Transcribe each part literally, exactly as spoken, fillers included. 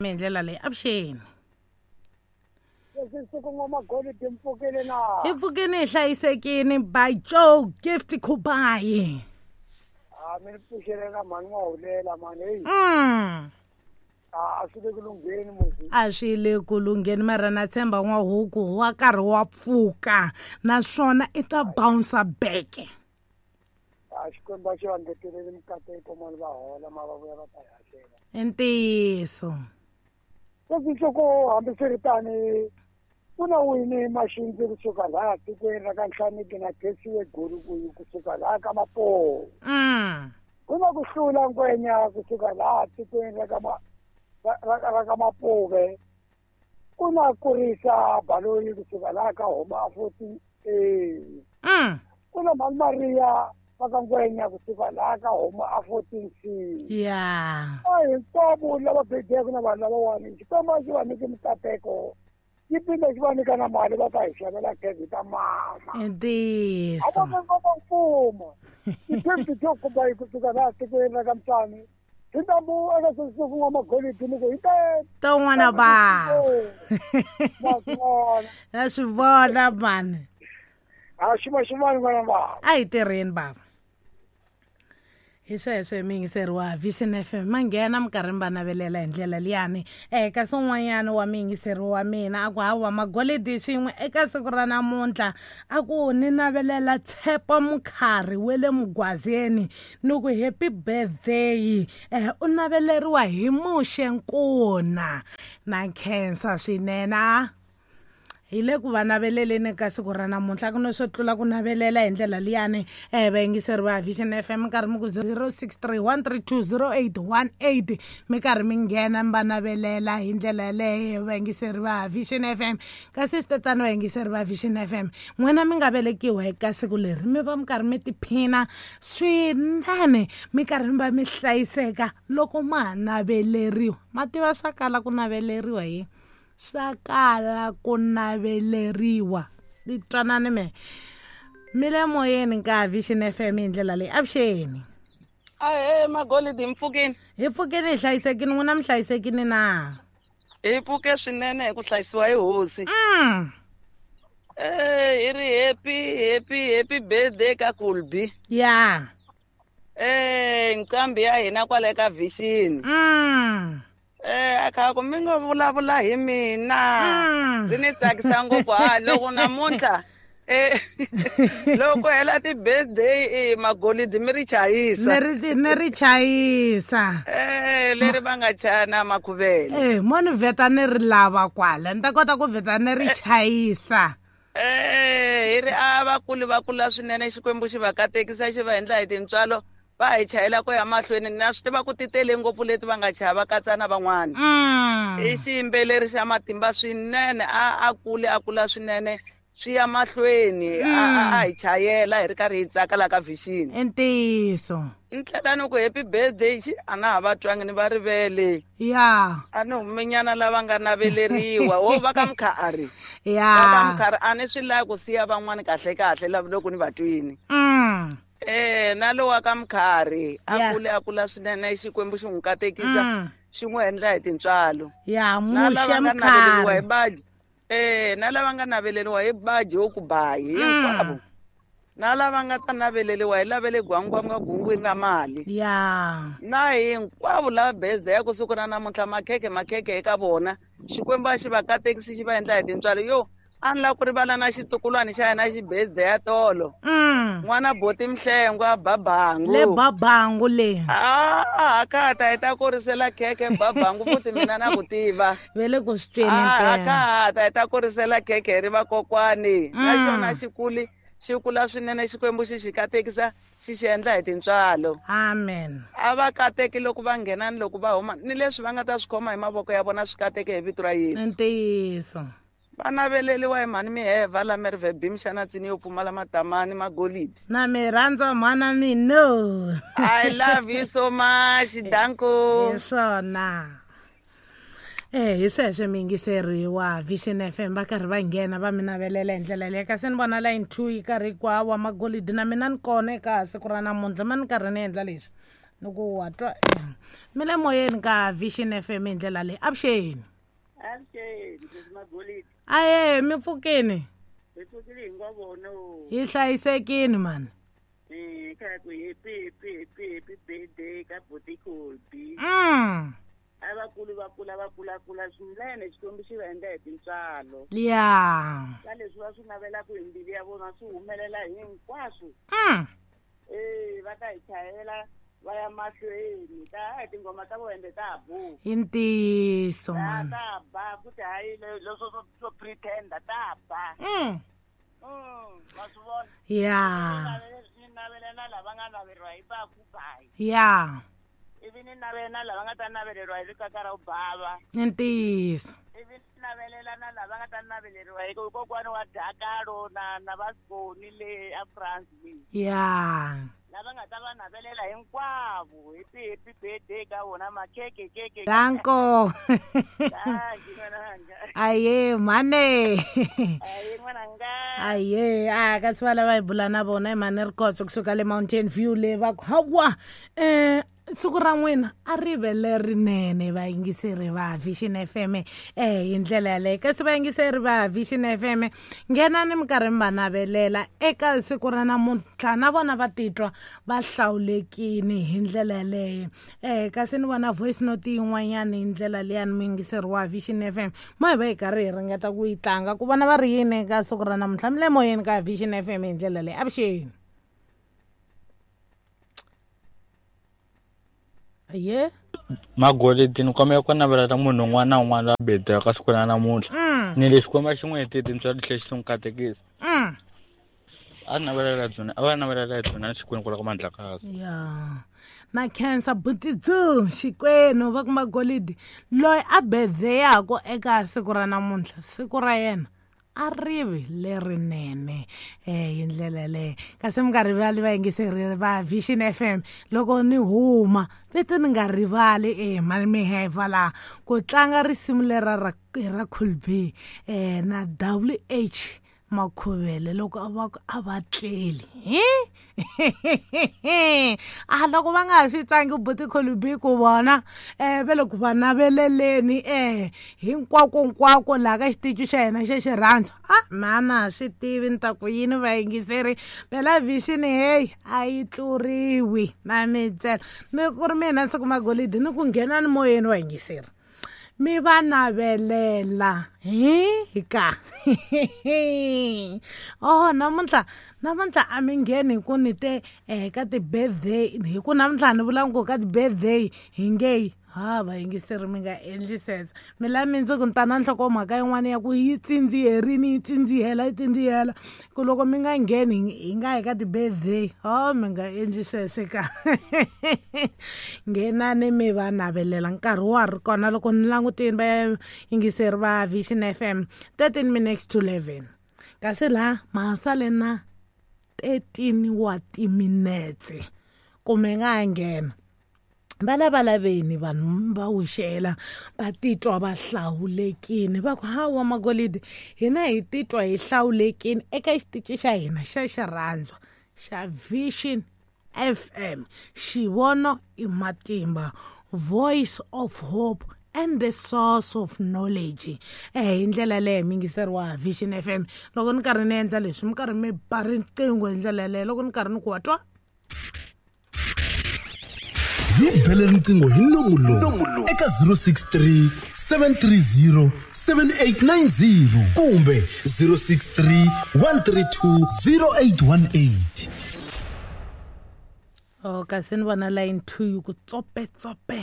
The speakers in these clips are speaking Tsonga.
Hi ndlela leyi avuxeni. Hi pfukile hi hlayisekile by Joe Gift Kubayi. A mi pfuxele na mhani wa hulela mhani hey. Mm. A swi le ku lungheni musi. A swi le ku lungheni mara na tshemba n'wahuku wa karhi wa pfuka naswona i ta bounce back. A Xikwembu a xi va ngeteleli mikateko mani va hola ma va vuya va ta hakela. I ntiyiso. Sweswi nhloko hambiswiritano ku na wini maxindzi kusuka laha tikweni ra ka Nhlaniki na Khesiwe Gulukuyu kusuka laha ka Mapoho. Mm. Ku na ku hlula ngwenya kusuka laha tikweni ra ka ma ra ka Mapuve. Ku na kurisa Baloyi kusuka laha ka Homa fourteen A. Mm. Ku na Mhani Maria va ka ngwenya kusuka laha ka Homa fourteen C. Yeah. A hinkwavo lava bedeke na vanhu lavawani Xikwembu a xi va nyiki mikateko. Yi pimbe xi va nyika na mali va ta hi xavela khekhe ta mama. I ntiyiso. A va va mfumo. I fifty two Kubayi kusuka laha tikweni ra ka Mtsani. Hi ntambu eka sweswi n'wa magolidi ni ku hi ta to n'wana ba. Ma swi vona. Na swi vona mani. A xi va xi vona n'wana baba. A hi tirheni baba. Hi sweswo hi muyingiseri wa Vision F M ma nghena minkarhi mi va navelela hi ndlela liyani. Eh kasi un'wanyana wa muyingiseri wa mina a ku hawa magolidi swin'we eka siku ra namuntlha a ku ni navelela Tshepo Mukhari we le Mugwazeni ni ku happy birthday. Eh u naveleriwa hi Muxe Nkuna na khensa swinene. Hi le ku va naveleleni ka siku ra namuntlha ku na swo tlula ku navelela hi ndlela liyani. Eh vayingiseri va Vision F M minkarhi mi ku zero six three one three two zero eight one eight mi karhi mi nghena mi va navelela hi ndlela yaleyo vayingiseri va Vision F M. Kasi swi tatana vayingiseri va Vision F M n'wina mi nga velekiwa eka siku leri mi va mi karhi mi tiphina swinene mi karhi mi va mi hlayiseka loko ma ha naveleriwa. Ma tiva swa kala ku naveleriwa hi swa kala ku naveleriwa. Twanani me mi le moyeni ka Vision F M hi ndlela leyi. Avuxeni. Ahee magolidi, hi mpfukini. Hi pfukini hi hlayisekini n'wina mi hlayisekini na? Hi pfuke swinene hi ku hlayisiwa hi hosi. Mm. Eh hi ri happy happy happy birthday ka Kulbi. Yeah. Eh nqambi ya hina kwale ka Vision. Mm. Eh akha ku mi nga vulavula hi mina. Ri ni tsakisa ngopfu ha loko namuntlha eh loko hela ti birthday eh magolidi mi ri chayisa. Ni ri ni ri chayisa. Eh leri va nga chana makhuvele. Eh mo ni vheta ni ri lava kwala ni ta kota ku vheta ni ri chayisa. Eh hi ri a vakulu va kula swinene Xikwembu xi va katekisa xi va endla hi tintswalo. Va hi chayela ku ya mahlweni na swi tiva ku ti tele ngopfu leti va nga chava katsa na van'wana. I xiyimbeleri xa matimba swinene a a kule a kula swinene swi ya mahlweni a a hi chayela hi ri karhi hi tsaka la ka Vision. I ntiyiso. Ni tlhela ni ku happy birthday xi a na ha va twangi ni va rivele. Yeah. A ni humenyana lava nga naveleriwa wo va ka Mkhari. Yeah. Va ka Mkhari a ni swi lavi ku siya van'wani kahle kahle lava loko ni va twini. Mm. Eh na lowa ka Mkhari a kule a kula swinene Xikwembu xi n'wi katekisa xi n'wi endla hi tintswalo. Ya Na Muxe lava nga naveleriwa hi Mkhari. baji eh na lava nga naveleriwa hi baji wo ku bayi hinkwavo. Na lava nga ta naveleriwa hi lavele gwangwanga gungwini ra mali. Ya. Na hinkwavo lava birthday ya ku siku ra namuntlha makhekhe makhekhe eka vona Xikwembu a xi va katekisi xi va endla hi tintswalo. Yo a ni lava ku rivala na xitukulwana xa hina xi birthday ya tolo. Mm. N'wana boti Mhlengwa Babangu. Le Babangu le. Ah, ka ta hi ta kurisela khekhe Babangu futhi mina na ku tiva. Ve le ku swi tweni Ah, mpela. ka ta hi ta kurisela khekhe ri vakokwani. Na Mm. xona xi kuli xi kula swinene Xikwembu xi xi katekisa xi xi endla hi tintswalo. Amen. A va kateki loko va nghena ni loko va huma ni leswi va nga ta swi khoma hi mavoko ya vona swi kateke hi vito ra Yesu. Ntiyiso. Va naveleriwa hi mhani Miheva la Merve Bim xana tsini yo pfumala matamani magolidi. Na mi rhandza mhana mina. I love you so much. Danko. Hi swona. Eh hi sweswo muyingiseri wa Vision F M va karhi va nghena va mi navelela hi ndlela leyi. Kasi ni vona line two yi karhi hinkwawo magolidi na mina ni kona eka siku ra namuntlha ma ni karhi ni endla leswi. Loko wa twa mi le moyeni ka Vision F M hi ndlela leyi. Avuxeni. Avuxeni Magolidi. Aye mi pfukini. Hi pfukile hinkwavo. Hi hlayisekini mani. Eh ka ku happy happy happy happy birthday ka Buti Colby. Mm. Abakulu bakula bakula kula swinene Xikwembu xi va endla hi tintswalo. Yeah. Ka leswi va swi navelaka hi mbilu ya vona swi humelela hinkwaswo. Mm. Eh va ta hi chayela va ya mahlweni ta hi tinghoma ta vona ende ta bu. I ntiyiso mani. Ta ba futhi hayi leswo swo swo pretend ta ba. Mm. Mm, va swi vona. Yeah. Ni navelela lava nga naveriwa hi va ku bayi. Yeah. Ivi ni navelela lava nga ta naveleriwa hi rikaka ra ubava. I ntiyiso. Ivi ni navelela na lava nga ta naveleriwa hi kokwana wa Dakalo na na Vaskoni le a France le. Yeah. Lava nga ta va navelela hinkwavo happy happy birthday ka vona makhekhe keke. Danko. Aye mane. Aye n'wananga. Aye a ka swi va lava hi bula na vona hi mane Rikhotso kusuka le Mountain View le va ku hawa eh siku ra n'wina a ri ve lerinene vayingiseri va Vision F M eh hi ndlela yaleyo. Kasi vayingiseri va Vision F M nghenani minkarhi mi va navelela eka siku ra namuntlha na vona va titwa va hlawulekini hi ndlela yaleyo. Eh kasi ni vona voice note yin'wanyana hi ndlela leyani muyingiseri wa Vision F M mo hi va hi karhi hi ringeta ku yi tlanga ku vona va ri yini eka siku ra namuntlha. Mi le moyeni ka Vision F M hi ndlela leyi. Avuxeni. Ye Magolidi ni kombela ku navelela munhu un'wana na un'wana la birthday ka siku ra namuntlha. Ni le Xikwembu xi n'wi hetile tintswalo tlhela xi n'wi katekisa. A navelela byona a va navelela byona Xikwembu ku la ku Mandlakazi. Yeah. Na khensa Buti Dzu Xikwenu va ku Magolidi loyi a birthday-ako eka siku ra namuntlha siku ra yena a rivi lerinene eh hi ndlela leyo. Kasi mi nga rivali vayingiseri va Vision F M loko ni huma vete ni nga rivali eh mani mi heva laha ku tlanga risimu lera ra ra Colby eh na W H Makhuvele loko a va a va tleli hi a loko va nga ha swi tlangi Buti Colby ku vona eh ve loko va naveleleni eh hinkwako nkwako laha ka xitichi xa hina xa xirhandzu. A mana swi tivi ni ta ku yini vayingiseri phela Vision hey a yi tluriwi na mitsela ni ku ri mina siku Magolidi ni ku nghena ni moyeni vayingiseri mi va navelela hi ka oh namuntlha namuntlha a mi ngheni hi ku ni te eh ka ti-birthday hi ku namuntlha ni vula ku ka ti-birthday hi nge ha vayingiseri mi nga endli sweswo mi la mi ndzi ku ni ta na nhlokomhaka yin'wana ya ku yi tsindziherini yi tsindzihela yi tsindzihela ku loko mi nga ngheni hi nga hi ka ti-birthday ho mi nga endli sweswo ka nghenani mi va navelela nkarhi wa ri kona loko ni langutini vayingiseri va Vision F M thirteen minutes to eleven kasi laha ma sale na thirteen wa timinetse kumbe nga nghena va lava laveni vanhu va wixela va titwa va hlawulekini va ku hawa Magolidi hina hi titwa hi hlawulekini eka xitichi xa hina xa xirhandzu xa Vision F M xivono i matimba voice of hope and the source of knowledge eh hi ndlela leyo miyingiseri wa Vision F M loko ni karhi ni endla leswi mi karhi mi ba riqingho hi ndlela leyo loko ni karhi ni ku wa twa hi bele riqingho hi nomu lowu eka zero six three seven three zero seven eight nine zero kumbe zero six three one three two zero eight one eight. Oh kasi ni vona line two yi ku tsope tsope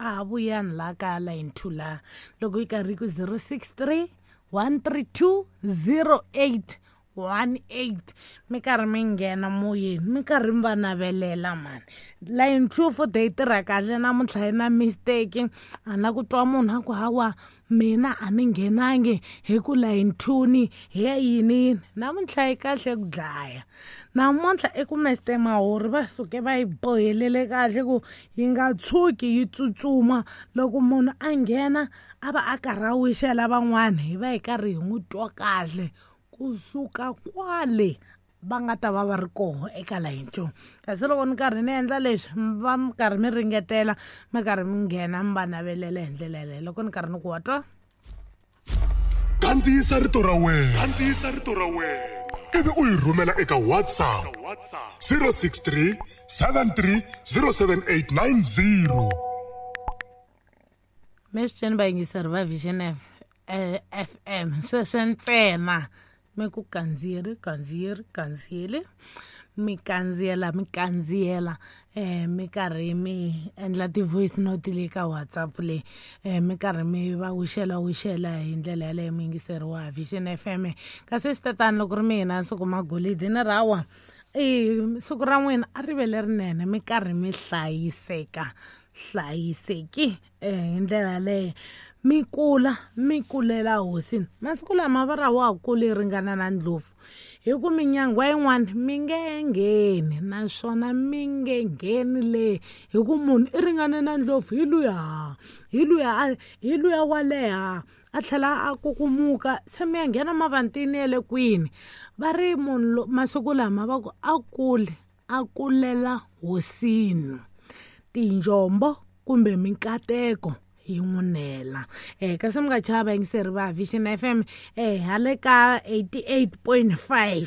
a vuyani la ka line two la loko yi karhi ku zero six three one three two zero eight one eight mi karhi mi nghena moyeni mi karhi mi va navelela mani line two futhi yi tirha kahle namuntlha yi na mistake a na ku twa munhu a ku hawa mina a ni nghenangi hi ku line two ni hi ya yini yini namuntlha yi kahle ku dlaya namuntlha i ku Mister Mahori va suke va yi bohelele kahle ku yi nga tshuki yi tsutsuma loko munhu a nghena a va a karhi a wixela van'wana hi va hi karhi hi n'wi twa kahle kusuka kwale va nga ta va va ri koho eka line two. Kasi loko ni karhi ni endla leswi va mi karhi mi ringetela mi karhi mi nghena mi va navelela hi ndlela yaleyo loko ni karhi ni ku wa twa. Kandziyisa rito ra wena, kandziyisa rito ra wena ivi u yi rhumela eka WhatsApp zero six three seven three zero seven eight nine zero. Mesitsheni vayingiseri va Vision F M sweswo ntsena mi ku kandziyeri kandziyeri kandziyeli mi kandziyela mi kandziyela eh mi karhi mi endla ti-voice note le ka WhatsApp le eh mi karhi mi va wixela wixela hi ndlela yaleyo mi yingiseriwa Vision F M. Kasi swi tatani loko ri mina siku magolidi ni rawa i siku ra n'wina a ri ve lerinene mi karhi mi hlayiseka hlayiseki eh hi ndlela yaleyo mi kula mi kulela hosini. Masiku lama va ra wa kule ringana na ndlopfu hi ku minyangwa yin'wana mi nge ngheni naswona mi nge ngheni le hi ku munhu i ringana na ndlopfu hi luya hi luya hi luya wa leha a tlhela a kukumuka se mi ya nghena mavantini ya le kwini. Va ri munhu masiku lama va ku a kule a kulela hosini tinjombo kumbe minkateko yi n'wi nela. Eh kasi mi nga chava vayingiseri va Vision F M eh hale ka eighty-eight point five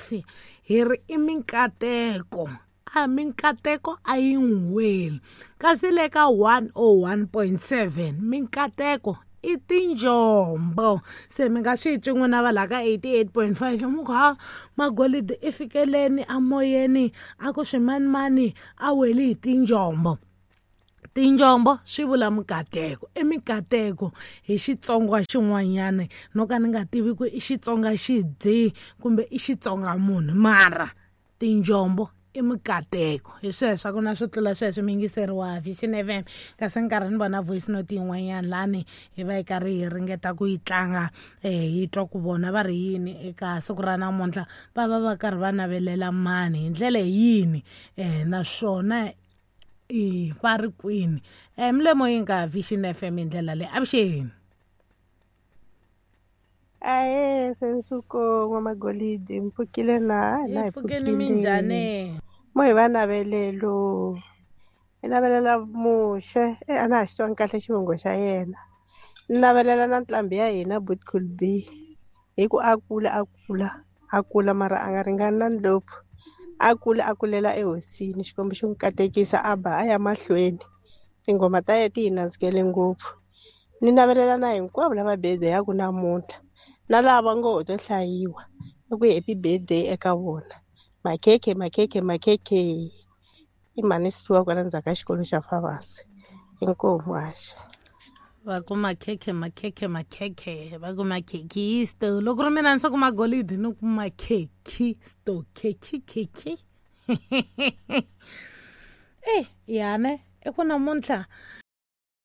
hi ri i minkateko a minkateko a yi n'wi weli. Kasi le ka one oh one point seven minkateko i tinjombo. Se mi nga swi twi n'wina va la ka eighty-eight point five mi ku ha magolidi i fikeleni amoyeni a ku swimanimani a weli hi tinjombo. Tinjombo swi vula mikateko i mikateko hi Xitsonga xin'wanyana no ka ni nga tivi ku i Xitsonga xidzi kumbe i Xitsonga munhu mara tinjombo i mikateko. Hi sweswo a ku na swo tlula sweswo mi yingiseriwa Vision F M. Kasi nkarhi ni vona voice note yin'wanyana lani hi va hi karhi hi ringeta ku yi tlanga eh hi twa ku vona va ri yini eka siku ra namuntlha va va va karhi va navelela mani hi ndlela yini eh naswona i va ri kwini. Eh milemo yi nga Vision F M hi ndlela leyi. Avuxeni. Ahe sensuko n'wamagolidi mpfukile na na hi pfukeni minjhani mo hi va navelelo hi navelela Muxe e a na ha xi twangi kahle xivongo xa yena. Ni navelela na ntlhambi ya hina Boot Cool B hi ku a kula a kula a kula mara a nga ringani na ndlopfu a kula a kulela ehosini Xikwembu xi n'wi katekisa a ba a ya mahlweni tinghoma ta yena ti hi nandzikele ngopfu. Ni navelela na hinkwavo lava birthday-aku namuntlha na lava ngo ho to hlayiwa i ku happy birthday eka vona. Makhekhe makhekhe makhekhe i mhani Siphiwa kwala ndzhaku ka xikolo xa Favasi inkomu haxa. Va ku makhekhe makhekhe makhekhe va ku makhekhisto loko ri mina ni se ku magolidi ni ku makhekhisto khekhi khekhi eh yane i ku namuntlha